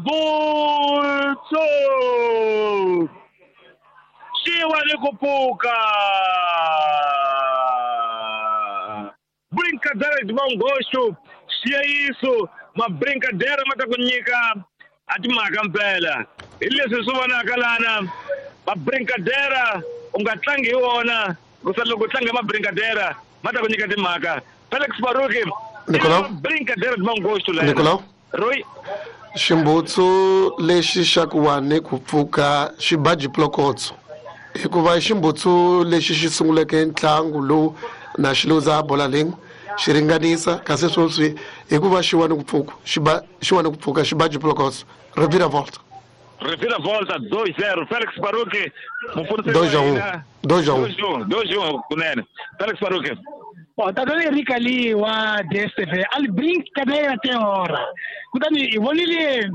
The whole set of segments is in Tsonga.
Xibutsu xi wa ni ku pfuka. Brincadeira de bom gosto, xiyayiso, ma brincadeira ma ta ku nyika a timhaka mpela. Hi leswi swi vonaka lana, ma brincadeira u nga tlangi hi wona, kusa loko u tlanga hi ma brincadeira ma ta ku nyika timhaka. Felix Baruki, Nicolau? Brincadeira de bom gosto lena. Nicolau? Roy, Ximbutsu lexi xa ku wa ni ku pfuka xi ba jiplokotso hikuva i ximbutsu lexi xi sunguleke ntlangu lowu na xi luza bola lin'we xi ringanisa kasi sweswi hikuva xi wa ni ku pfuka xi ba xi wa ni ku pfuka xi ba jiplokotso reviravolta. Reviravolta 2-0 Felix Baruki mupfunisi 2-1 2-1 2-1 2-1 kunene Felix Baruki. Bom, tatana Eric ali wa DStv a li brincadeira até hora. Kutani hi vonile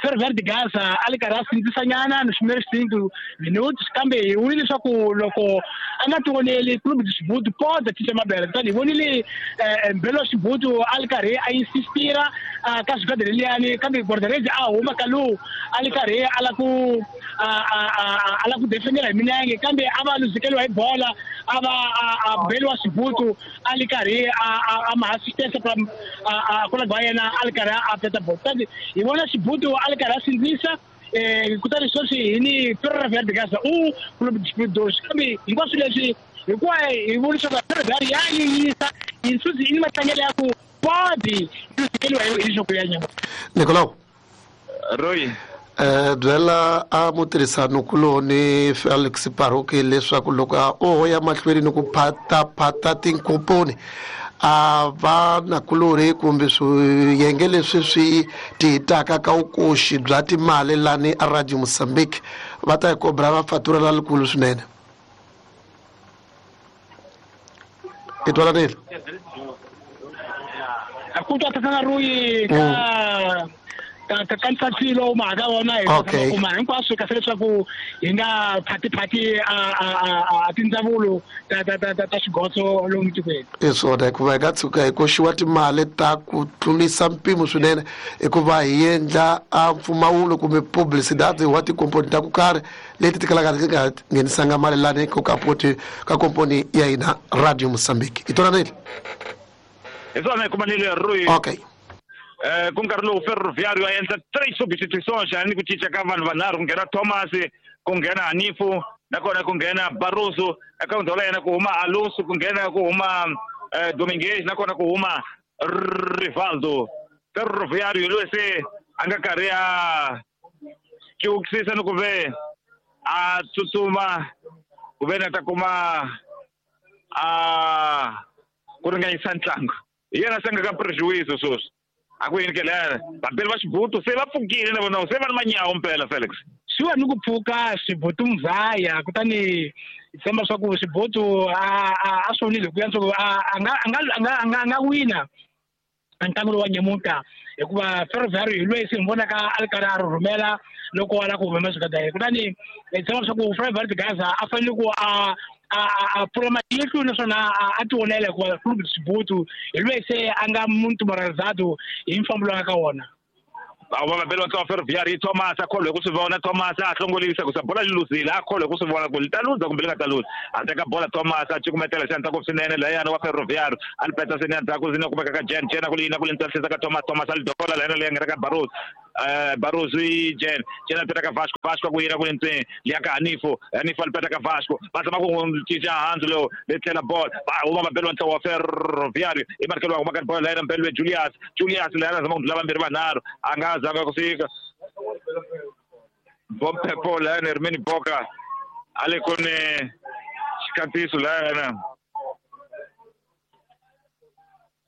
Ferroviário de Gaza a li karhi a sindzisanyana nos primeiros 5 minutos, kambe hi vonile leswaku loko a nga tioneli Clube de Xibutu pode cinca mabele. Kutani hi vonile Mbelo wa Xibutu a li karhi a insistira ka xigada leliyani, kambe guarda-redes a huma ka lowu a li karhi a la ku a la ku defendela hi milenge, kambe a va luzekeriwa hi bola, a va a Mbelo wa Xibutu a li karhi a ma assistência pra a colega wa yena a li karhi a peta bola. Kutani hi vona Xibutu a li karhi a sindzisa, kutani sweswi hi ni Ferroviário de Gaza u Clube de Xibutu 2, kambe hinkwaswo leswi hikuva hi vona leswaku Ferroviário ya yiyisa yinsuzi i ni matlangelo ya ku podi luzekeriwa hi nhloko ya nyama. Nicolau. Roy. Byela a mutirhisani-kuloni Felix Baruki leswaku loko a oho ya mahlweni ni ku phataphata tinkomponi a va nakulorhi kumbe swiyenge leswi swi tihitaka ka vukoxi bya timali lani a Radio Mozambique va ta hi kobra va fatura la likulu swinene. I twananile? A ku twa tatana Roy ka ntshatsilo mhaka wona hi kuma hinkwaswo kahle leswaku hi nga phatiphati a tindzawulo ta xigotso lomu tikweni. I swona, hikuva hi nga tshuka hi koxiwa timali ta ku tlurisa mpimo swinene hikuva hi endla a mpfumawulo kumbe publicidade wa tikomponi ta ku karhi leti ti kalaka ti nga nghenisanga mali lani ko kapoti ka komponi ya hina Radio Mozambique. I twananile? Hi swona hi kumanile Roy. Ku nkarhi lowu Ferroviário a endla 3 substituições ni ku cinca ka vanhu vanharhu, ku nghena Thomas, ku nghena Hanifu, nakona ku nghena Barroso, eka ndhawu ya yena ku huma Alonso, ku nghena ku huma Dominguez, nakona ku huma Rivaldo. Ferroviário loyi se a nga karhi a ciukisisa ni ku ve a tsutsuma ku ve na ta kuma a ku ringanyisa ntlangu. Hi yena se nga ka prejuízo sweswi. A ku yini ke lera? Vapeli va Xibutu se va pfukile na vona, se va ni manyawo mpela Felix. Swi wa ni ku pfuka Xibutu mzaya, kutani hi tshemba swa ku Xibutu a swi vonile hi ku yantswa ku a nga wina ntlangu lowu wa nyamuntlha, hikuva Ferroviário hi loyi se hi vonaka a ri karhi a rhurhumela loko a lava ku huma xigada yena. Kutani hi tshemba leswaku Ferroviário de Gaza a fanele ku a pfula matihlo naswona a tionela, hikuva Clube de Xibutu hi loyi se a nga muntu moralizado hi mfambo lowu a nga ka wona. Va va vabeli va ntlawa Ferroviário, Thomas a kholwe ku swi vona, Thomas a hlongolisa ku sa bola li luzile, a kholwe ku swi vona ku li ta luza kumbe li nga ta luza. A teka bola Thomas a cukumetela xandla ku swinene layani wa Ferroviário, a li peta seni endzhaku seni kumeka ka Jen, Jen a ku li yina ku li ntsakisa ka Thomas, Thomas a li dola layani leyi nga ka Barroso. Barroso i Jen, Jen a peta ka Vasco, Vasco a ku yina ku li ntseni, liya ka Hanifo, Hanifo a li peta ka Vasco, va zama ku n'wi cinca hansi lowu, le tlhela bola, va huma vabeli va ntlawa wa Ferroviário, i markelo wa huma ka bola layani mbeli we Julius, Julius layani a zama ku ndlula vambirhi vanharhu, a nga zanga ku fika. Bompepo layani Hermini Boka a le ku ni xikatiso layani.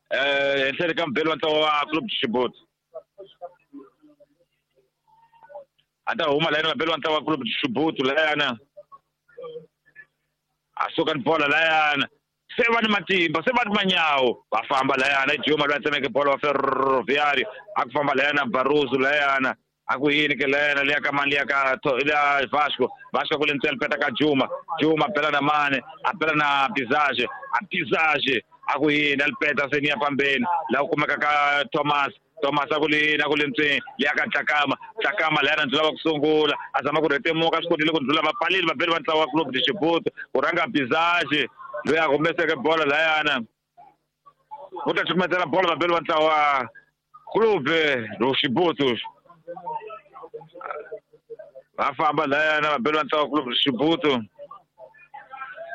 Henhleni ka mbeli wa ntlawa wa Clube de Xibutu. A ta huma layani vabeli wa ntlawa wa Clube de Xibutu layani. A suka ni bola layani. Se va ni matimba, se va ni manyawo. Va famba layana, i Juma loyi a tsemeke bolo wa Ferroviário. A ku famba layana Barroso layana. A ku yini ke layana liya ka mani, liya ka liya Vasco. Vasco ku le ntsena peta ka Juma. Juma a bela na Mane, a bela na Bizage. A Bizage a ku yini, a li peta se ni ya fambeni. Laha ku kumeka ka Thomas. Thomas a ku le na ku le ntseni ya ka Tlakama Tlakama leyana ndzi lava ku sungula a zama ku rhetemuka swi kotile ku ndlula va pfalile vabeli va ntlawa wa Clube de Chibuto ku rhanga Bizage loyi a humeseke bolo layana u ta cukumetela bolo vabeli va ntlawa wa Clube do Chibuto va famba layana vabeli va ntlawa wa Clube do Chibuto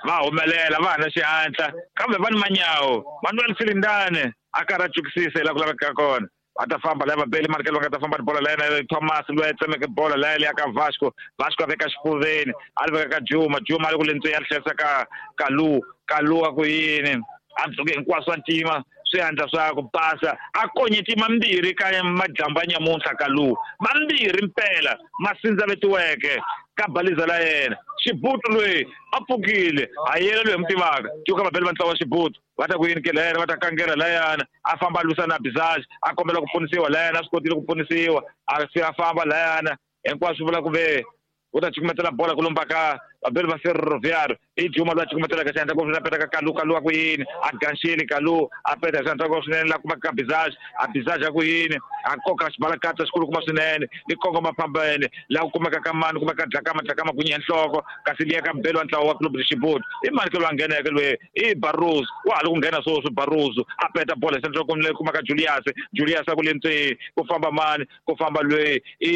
va humelela va ha na xihatla kambe va ni manyawo Manuel Silindane a karhi a cukisisa hi laha ku lavekaka kona va ta famba laya vabeli marikelo va nga ta famba ni bolo laya Thomas loyi a tsemeke bolo laya leya ka Vasco Vasco a veka xifuveni a ri veka ka Juma Juma a ri ku le ntsweni a ri tlherisa ka Kalu Kalu a ku yini a dzuke hinkwaswo a ntima swihandla swa ku basa a konyeti mambirhi ka madyambu ya nyamuntlha Kalu mambirhi mpela ma sindzavetiweke ka baliza la yena Xibutu loyi a pfukile a yena loyi hi mu tivaka cuka vabeli va ntlawa wa Xibutu va ta ku yini ke layana va ta kangela layana a famba a lwisana na Bizage a kombela ku pfunisiwa layana a swi kotile ku pfunisiwa a se a famba layana hinkwaswo vula ku ve u ta cukumetela bola ku lomba ka vabeli va Ferroviário i Juma loyi a cukumetelaka xandla ngopfu a peta ka Kalu Kalu a ku yini a ganxile Kalu a peta xandla ngopfu swinene la kumaka ka Bizage a Bizage a ku yini a koka xibalakatsa xikulukumba swinene ni kongoma phambene laha ku kumeka ka mani kumeka Dlakama Dlakama ku nyiha nhloko kasi liya ka mbeli wa ntlawa wa Clube de Chibuto i mani ke loyi a ngheneke loyi i Barroso wa ha ri ku nghena sweswi Barroso a peta bola hi xandla leyi kumaka Julius Julius a ku le ntseni ku famba mani ku famba loyi i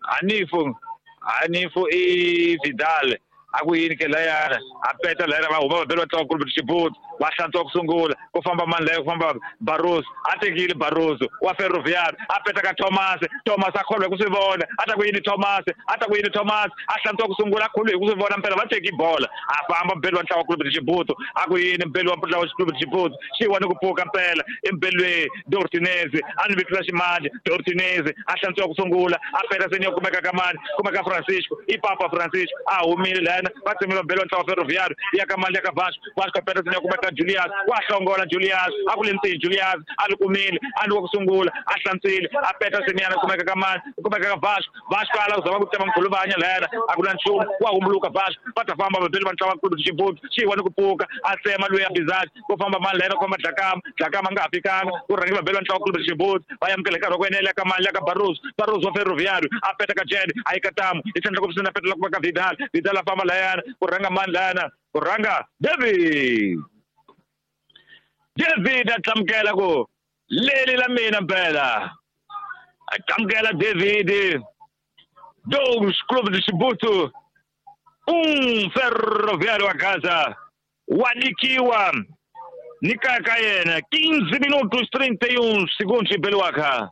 Hanifu Hanifu i Vidal a ku yini ke layana a peta layana va huma vabeli va ntlawa Clube de Chibuto va hlantswa ku sungula ku famba mani laya ku famba Barroso a tekile Barroso wa Ferroviário a peta ka Thomas Thomas a kholwa hi ku swi vona a ta ku yini Thomas a ta ku yini Thomas a hlantswa ku sungula a kholwe hi ku swi vona mpela va teki bola a famba mbeli wa ntlawa wa Clube de Chibuto a ku yini mbeli wa ntlawa wa Clube de Chibuto xi wa ni ku pfuka mpela i mbeli loyi Dortinez a ni vitela ximandla Dortinez a hlantswa ku sungula a peta seni ya kumeka ka mani kumeka Francisco i Papa Francisco a humile layana va tsemile mbeli wa ntlawa Ferroviário ya ka mani ya ka Vasco Vasco a peta seni ya kumeka Julius wa hlongola Julius a ku le ntsini Julius a li kumile a ni wa ku sungula a hlantswile a peta seniyana kumeka ka mani kumeka ka Vasco Vasco a lava ku zama ku tsema mkhuluvanya layana a ku na nchumu wa humbuluka Vasco va ta famba vabeli va ntlawa Clube de Chibuto xi wa ni ku pfuka a tsema loyi ya Bizage ku famba mani layana ku famba Dlakama Dlakama a nga ha fikanga ku rhange vabeli va ntlawa Clube de Chibuto va amukela hi nkarhi wa ku enela ka mani ya ka Barroso Barroso wa Ferroviário a peta ka Jed a yi ka tamu i tlhandla ku a petela ku ka Vidal Vidal a famba layana ku rhanga mani layana ku rhanga David David a tlamukela ku leli la mina mpela a tlamukela David 2 Clube de Chibuto 1 Ferroviário a casa wa nyikiwa ni kaya ka yena 15 minutos 31 segundos beliwaka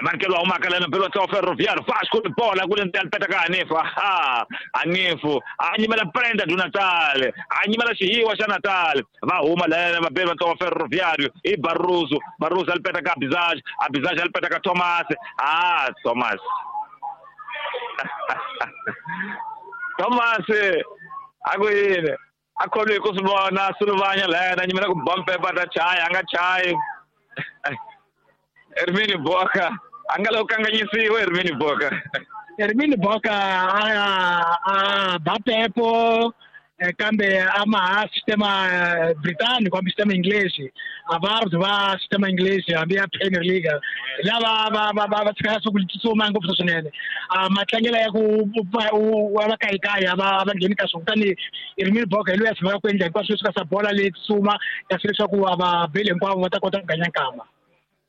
Markelo humaka lana mbeli wa ntlawa Ferroviário Vasco ni bola ku le ndzeni peta ka Hanifu aha Hanifu a nyimela prenda do Natal a nyimela xihiwa xa Natal va huma lana vabeli va ntlawa Ferroviário i Barroso Barroso a li peta ka Bizage a Bizage a li peta ka Thomas ah Thomas Thomas a ku yini a kholwi hi ku swi vona Suluvanya layana nyimela ku ba mpepa ta chaya a nga chayi Hermini Boka a nga lavi ku kanganyisiwa Hermini Boka Hermini Boka a ba pepo kambe a ma ha sistema britânico hambi sistema inglês a va va sistema inglês hambi ya Premier League lava va tshika swa ku tsutsuma ngopfu swinene a matlangelo ya ku va kayikaya va ngheni ka swona kutani Hermini Boka hi loyi a tshamaka ku endla hinkwaswo leswi ka swa bola leyi tsutsuma kasi leswaku a va beli hinkwavo va ta kota ku ganya nkama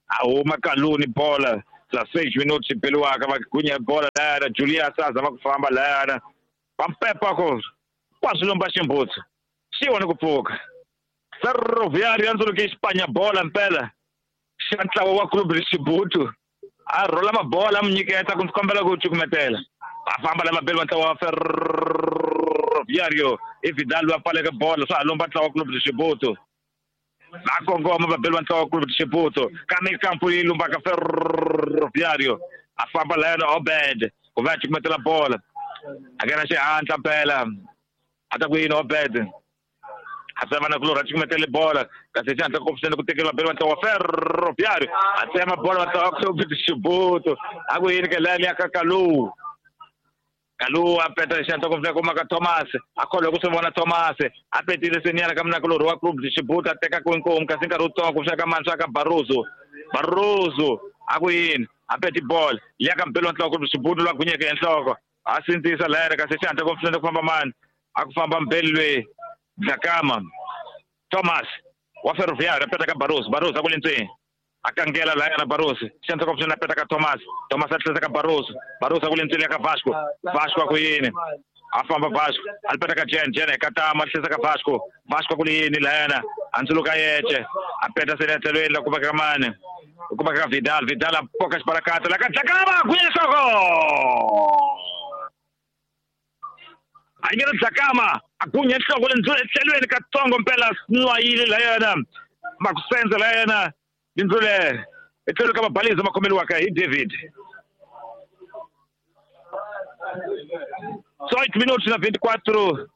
a huma Kaluni bola la 6 minutos beliwaka va gunya bola layana Julius a zama ku famba layana va mpepa ko kwa swilomba ximbutsu xi wa ni ku pfuka Ferroviário ya ndzuluke xipanya bola mpela xa ntlawa wa Clube de Chibuto a rhola mabola a mu nyiketa ku ndzi kombela ku cukumetela va famba lava beli va ntlawa wa Ferroviário i Vidal loyi a pfaleke bola swa ha lomba ntlawa wa Clube de Chibuto va kongoma vabeli va ntlawa wa Clube de Chibuto ka mikampu yi lumbaka Ferroviário a famba layana Obed ku va a cukumetela bola a nghena xihatla mpela a ta ku yini Obed a tsema na kulorha a cukumetele bola kasi xihatla ngopfu ku tekeriwa vabeli va ntlawa wa Ferroviário a tsema bola va ntlawa wa Clube de Chibuto a ku yini ke laya liya ka Kalu Kalu a peta xihatla ngopfu kumaka Thomas a kholwa ku swi vona Thomas a petile seniyana ka munakulorhi wa Clube de Chibuto a teka ku inkomu kasi nkarhi wutsongo ku swa ka mani swa ka Barroso Barroso a ku yini a peti bolo liya ka mpelo nhloko Xibutu lwa gunyeke enhloko a sindzisa layana kasi xihatla ku pfuna ku famba mani a ku famba mbeli lweyi Dlakama Thomas wa Ferroviário a peta ka Barroso Barroso a ku le ndzeni a kangela layana Barroso xihatla ku pfuna a peta ka Thomas Thomas a tlhela ka Barroso Barroso a ku le ndzeni ya ka Vasco Vasco a ku yini a famba Vasco a peta ka Jen Jen ka Tama a tlhela ka Vasco Vasco a ku le yini layana a ndzuluka yece a peta se le tlhelweni la ku veka mani ku veka Vidal Vidal a poka xibalakata la ka Dlakama gunya nhloko a yi ngena Dlakama a gunya nhloko le tlhelweni katsongo mpela nwayile layana makusenza layana lindzule etlhelo ka mabaliza ma khomeliwaka hi David 18 minutos na 24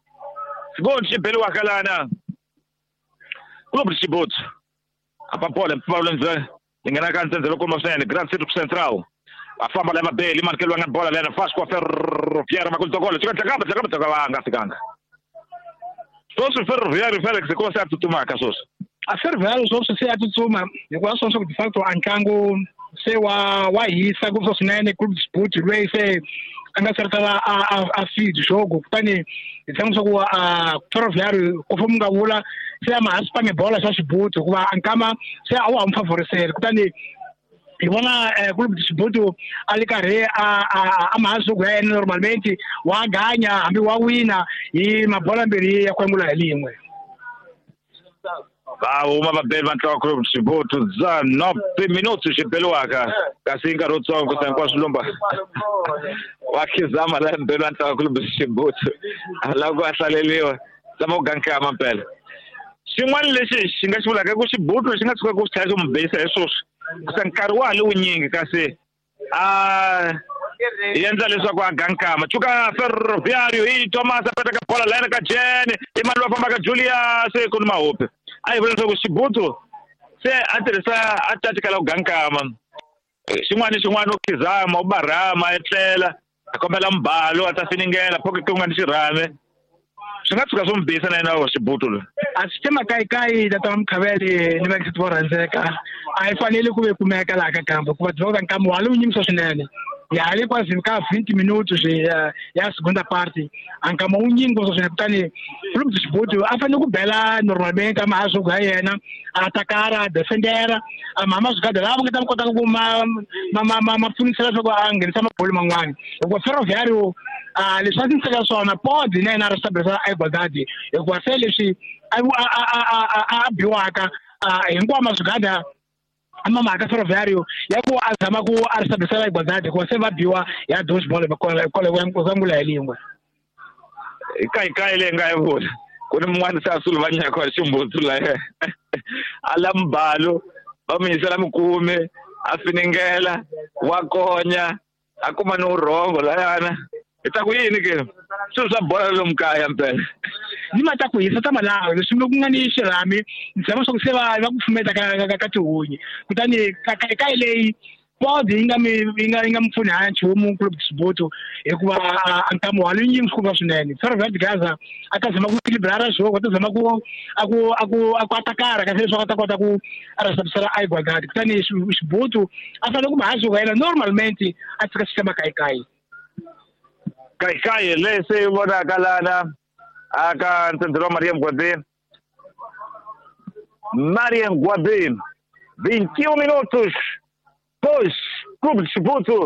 segundos xibeliwaka lana Clube de Chibuto a papola mpfumawulo ndzwe yi nghena ka ntsendze loko swinene Grand City Central a famba la mabeli manikeliwa nga bola lena Vasco Ferroviário makulitokolo chika Dlakama Dlakama Dlakama a nga fikanga sweswi Ferroviário Felix hikuva se a tsutsumaka sweswi a Ferroviário sweswi se a tsutsuma hikuva swona swa ku de facto a ntlangu se wa hisa ngopfu swinene Clube de Chibuto lweyi se a nga se a feed jogo kutani hi tshemba swa ku a Ferroviário ku fomu nga vula se a ma ha swi bola xa Xibuto hikuva a nkama se a wa ha n'wi favorisela kutani hi vona Clube de Chibuto a le karhi a mahasuku ya yena normalmente wa ganya hambi wa wina hi mabola mbirhi ya ku angula hi lin'we va huma vabeli va ntlawa Clube de Chibuto 19 minutos xibeliwaka kasi nkarhi wutsongo kusa hinkwaswo lumba wa khizama la mbeli wa ntlawa Clube de Chibuto a lava ku a hlaleliwa zama ku gankama mpela xin'wana lexi xi nga xi vulaka i ku Xibuto xi nga tshuka ku xi tlhela xi mu beyisa hi sweswi kusa nkarhi wa ha le wunyingi kasi a endla leswaku a gankama cuka Ferroviário hi Thomas a peta ka bola layana ka Jen i mali wa famba ka Julius ku ni mahopi a hi vula leswaku Xibuto se a tirhisa a tatikala ku gankama xin'wana ni xin'wana u khizama u barhama a etlela a kombela mbalo a ta finingela phoke ku nga ni xirhame swi nga tshuka swo mi biyisa na yena wa Xibuto loyi a swi tema kayikayi tata wa Mukhavele ni vaxiti vo rhandzeka a yi fanele ku ve kumeka laha ka kambe hikuva tiva nkama wa le wu nyimisa swinene ya ha le kwazini ka 20 minutos ya segunda parte a nkama wu nyingi ngopfu swinene kutani Clube de Chibuto a fanele ku bela normalmente a mahasuku ya yena a atakara a defendera a mama swigada lava nga ta kota ku ma pfunisela leswaku a nghenisa mabolo man'wani hikuva Ferroviário a leswi a tiniseka swona podi na yena a restablisa a igualdade hikuva se leswi a biwaka hinkwawo maswigada ama mhaka Ferroviário ya ku a zama ku a restablisa igualdade hikuva se va biwa ya dos bolo kwangula hi lin'we hi kayikayi leyi nga yi vula ku ni mun'wana se a suluvanyaka wa Ximbutsu laya a la mbalo va mu yisela mikume a finingela wa konya a kuma ni vurhongo layana hi ta ku yini ke swilo swa bola lomu kaya mpela ni ma ta ku hisa ta malawi leswi ku nga ni xirhami ni tshemba swa ku se va ku pfumeta ka tihunyi kutani kayikayi leyi podi yi nga mi pfuni ha nchumu Clube de Chibuto hikuva a nkama wa lunyingi swikuva swinene Ferroviário de Gaza a ta zama ku equilibrara jogo a ta zama ku a ku atakara kasi leswaku a ta kota ku a restablisa a igualdade kutani Xibuto a fanele ku mahasuku ya yena normalmente a tshika xi kayikayi kayikayi leyi se yi vonaka lana aka ntsendze wa Maria Mgwabeni Maria Mgwabeni 21 minutos 2 Clube de Chibuto